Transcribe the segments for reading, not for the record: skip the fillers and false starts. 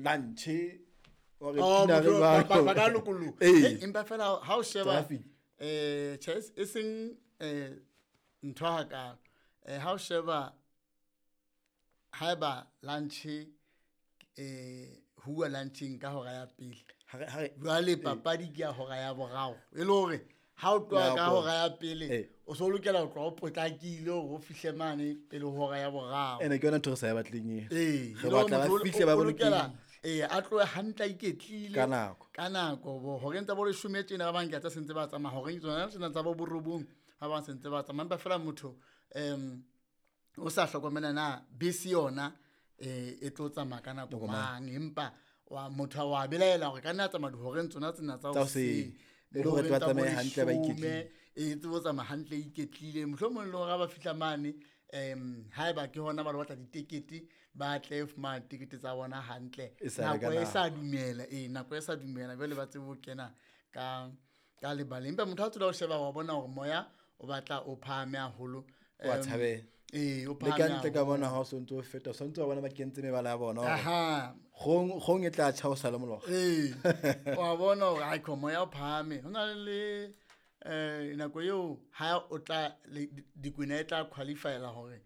lunch Oh, ba ka lokoloha. Empa fela ha o sheba tjhe e seng ntho hakalo. Ha o sheba haeba lunch huwa lunching ka hora ya pele. Jwale papadi ke ya hora ya boraro. E le hore ha o tloha ka hora ya pele o so lokela ho tloha o potlakile hore o fihle mane pele ho hora ya boraro. Ene ke yona ntho re sa e batleng eo. Re batla ba fihle ba bolokehile. A tlohe hantle a iketlile ka nako. Ka nako bo horeng tsa bo leshome tjena ba bang ke tsa sentse ba tsamaya horeng tsona tsena tsa bo borobong ba bang sentse ba tsamaya empa fela motho o sa hlokomela na bese yona e tlo tsamaya ka nako mang empa wa motho wa belaela hore ka nna tsamaya dihoreng tsona tsena tsa hoseng le hore ba tsamaye hantle ba iketlile e tsebo tsamaya hantle iketlile mohlomong le hore ba fihla mane haeba ke hona ba batla ditekete ba tle fumana ditekete tsa bona hantle nako e sa dumela nako e sa dumela jwale ba tsebe ho kena ka lebaleng empa motho a tsula ho sheba wa bona hore moya o batla o phahame haholo wa tshabela o le ka ntle ka bona ha o sontso o feta sontso wa bona ba kentse mebala ya bona hore gong e tla tjha o sa le mologa wa bona hore ai moya o phahame ho na le nako eo ha o tla dikwena e tla qualifyela hore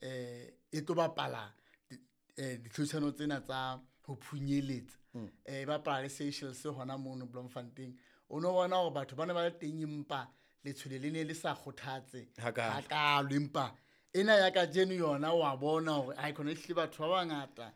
e tlo bapala ditlhodisano tsena tsa ho phunyeletsa e bapala le Seychelles hona mono Bloemfontein o no bona hore batho ba ne ba le teng empa letshwele le ne le sa kgothatse hakalo empa ena ya kajeno yona wa bona hore ai khona ehlile batho ba bangata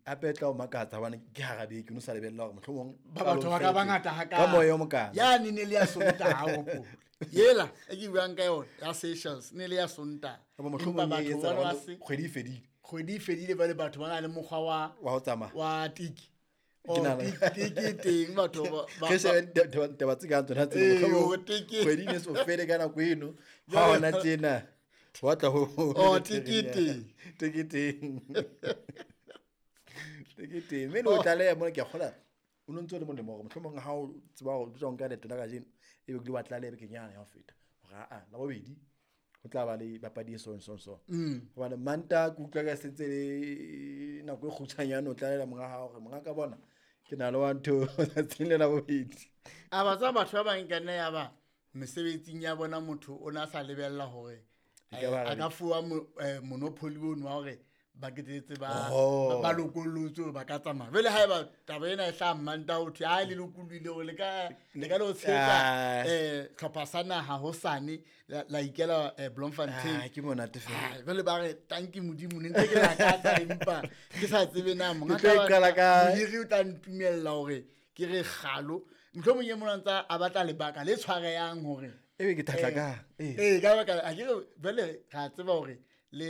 hape tla o makatsa hobane ke hara beke o no sa lebella hore mohlomong ba batho ba ka bangata hakalo ka moya o mokana ya ne ne le ya Sontaha hopole yela e ke buang ka yona ya Seychelles ne le ya Sontaha mohlomong e etsa kgwedi e fedile kgwedi e fedile ba le batho ba na le mokgwa wa ho tsamaya wa tiki tiki teng batho ba ke shebe taba tse kang tsona tse mohlomong kgwedi ne so fele ka nako eno ha hona tjena wa tla ho tiki teng tiki teng tiki teng mme o tlaleha mona ke a kgola o no ntse o le molemo hore mohlomong ha o tseba hore o tla nka leeto la kajeno ebe ke wa tlaleha bekenyana ya ho feta hore aa la bobedi ho tla ba le papadi e so so so hobane Manta ke utlwa ka sentse le nako e kgutshwanyane o tlalela monga hao hore monga ka bona ke na le wa ntho tsatsing le la bobedi a ba tsa batho ba bang ka nna ya ba mesebetsing ya bona motho o na sa lebella hore a ka fuwa monopoly ono wa hore ba ketetse ba lokollotswe ba ka tsamaya jwale haeba taba ena e hlaha Manta ho thwe ha le lokollohile hore le ka lo tshehetsa hlopha sa naha hosane la ikela Bloemfontein ke monate fela jwale ba re tanki Modimo ne ntse ke lakatsa empa ke sa tsebe na monga ka mohiri o tla ntumella hore ke re kgalo mohlomong e mona ntsa a batla lebaka le tshwareyang hore ebe ke thatla ka ka baka a ke jwale ra tseba hore le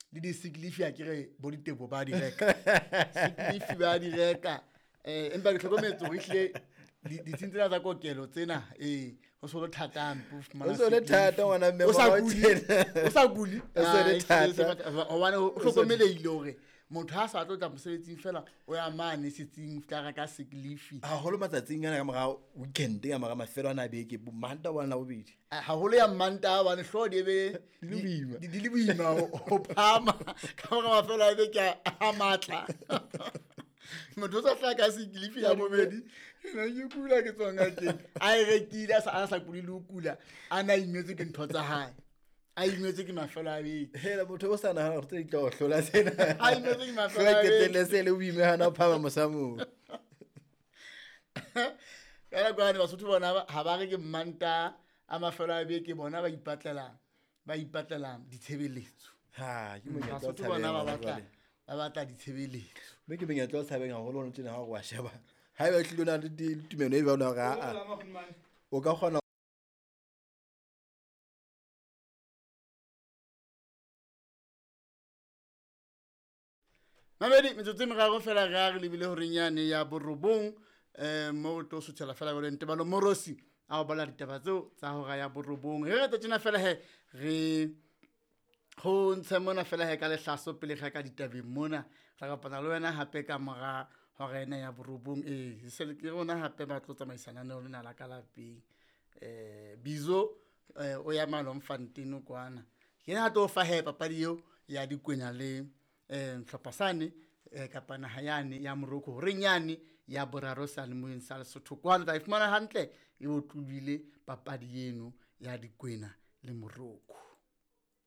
di sick leave a ke re bo ditebo ba di reka sick leave ba di reka empa ke hlokometse hore ehlile ditsing tsena tsa kokelo tsena ho so le thata hampe ho fumana ho so le thata ngwana mme o sa kuli o so le thata hobane o hlokomelehile hore motho ha sa tlo tla mosebetsing fela o ya mane setsing tla reka sick leave haholo matsatsing ana ka mora weekend ka mora mafelo ana a beke Manta wa la bobedi haholo ya Manta hobane hlooho di be di le boima ho phama ka mora mafelo a beke a matla motho o sa hlaka ka sick leave ya bobedi ena ke kula ke tswa ngakeng a e rekile a sa kule le ho kula a na imetswe ke ntho tsa hae a imetswe ke mafelo a beke hela motho o sa nahana hore tse di tla o hlola tsena a imetswe ke mafelo a beke qetelle se le boime hana phama mosamong ka nako yane Basotho bona ha ba re ke Manta a mafelo a beke bona ba ipatlela ditshebeletso ha ke monyetla o Basotho bona ba batla ditshebeletso mme ke monyetla o tshabeng haholo ono tjena ha o wa sheba haeba tlilo na le tumelo e jwalo hore a o ka kgona Mamedi metsotso e meraro fela re a re lebile horeng yane ya borobong mo tlo suthela fela jwale Ntebalo Morosi a o bala ditaba tseo tsa hora ya borobong re re tjena fela he re ho ntshe mona fela he ka lehlaso pele ga ka ditabeng mona re kopana le wena hape ka mora hora ena ya borobong se ke rona hape ba tlo tsamaisana le lona la ka lapeng Bizo o ya Bloemfontein kwana ke na tlo fa he papadi eo ya dikwenya le hlopha sane Kapa naha yane ya Morocco horeng yane ya boraro seyalemoyeng sa Lesotho kwano. Tla e fumana hantle e otlobile papadi eno ya Dikwena le Morocco.